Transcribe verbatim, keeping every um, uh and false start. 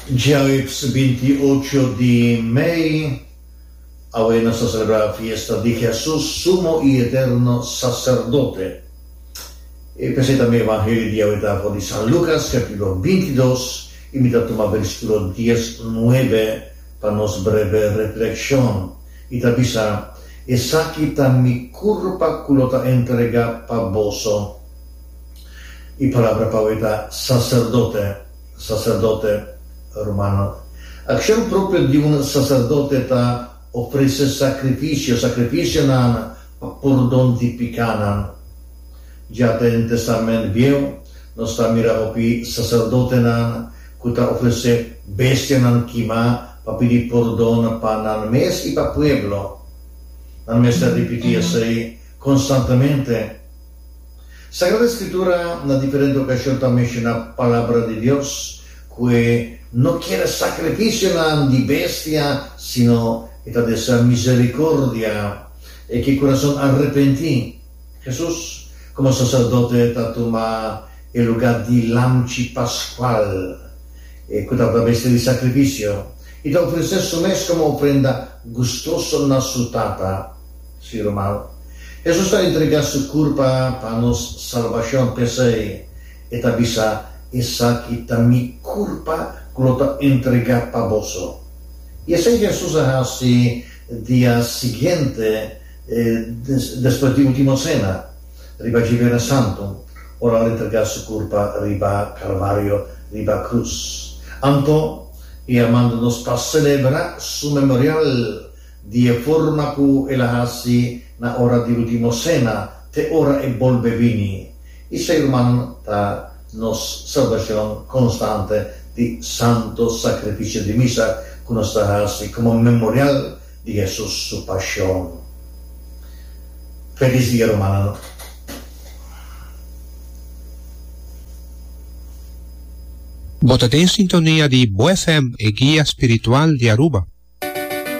Djaweps binti ocho di mei, awe nos ta selebrá fiesta di Hesus, Sumo i Eterno Saserdote. I p'esei tambe Evangelio di awe ta for di San Lukas kapítulo binti dos i mi ta tuma versíkulo dies nuebe pa nos breve reflekshon. I ta bisa, Esaki ta mi kurpa ku lo ta entregá pa boso. E palabra pa awe ta saserdote, saserdote romano. Akshon propio di un saserdote ta ofresé sakrifisio, sakrifisionan pa pordon di pikanan. Ya den Testament Bieu nos ta mira hopi saserdotenan ku ta ofresé bestianan kimá pa pidi pordon pa nan mes i pa pueblo. Nan mester ripití esei konstantemente. Sagrada Escritura na diferente ocasion ta menciona Palabra di Dios cu e no kier sacrificionan di bestia sino e ta desea misericordia e ke curason arrepenti. Jesus como sacerdote ta tuma e lugar di lamchi pascual e cu tabata bestia di sacrificio y ta ofrece su mes como ofrenda gustoso na su Tata. Sí, ruman. Hesus ta entregá su kurpa pa nos salbashon, p'esei e ta bisa, Esaki ta mi kurpa ku lo ta entregá pa boso. I esei Hesus a hasi dia siguiente despues di Último Sena, riba Djibiernes Santu, ora el entregá su kurpa riba Kalvario, riba krus. Anto, e a manda nos pa selebrá su memorial Di e forma ku el a hasi na ora di ultimo sena te ora e bolbe bini. Esei, ruman, ta nos salbashon konstante di Santo Sakrifisio di Misa ku nos ta hasi komo memorial di Hesus su pashon. Felis dia, rumannan. Bo ta den sintonia di Bo F M, e guia spiritual di Aruba.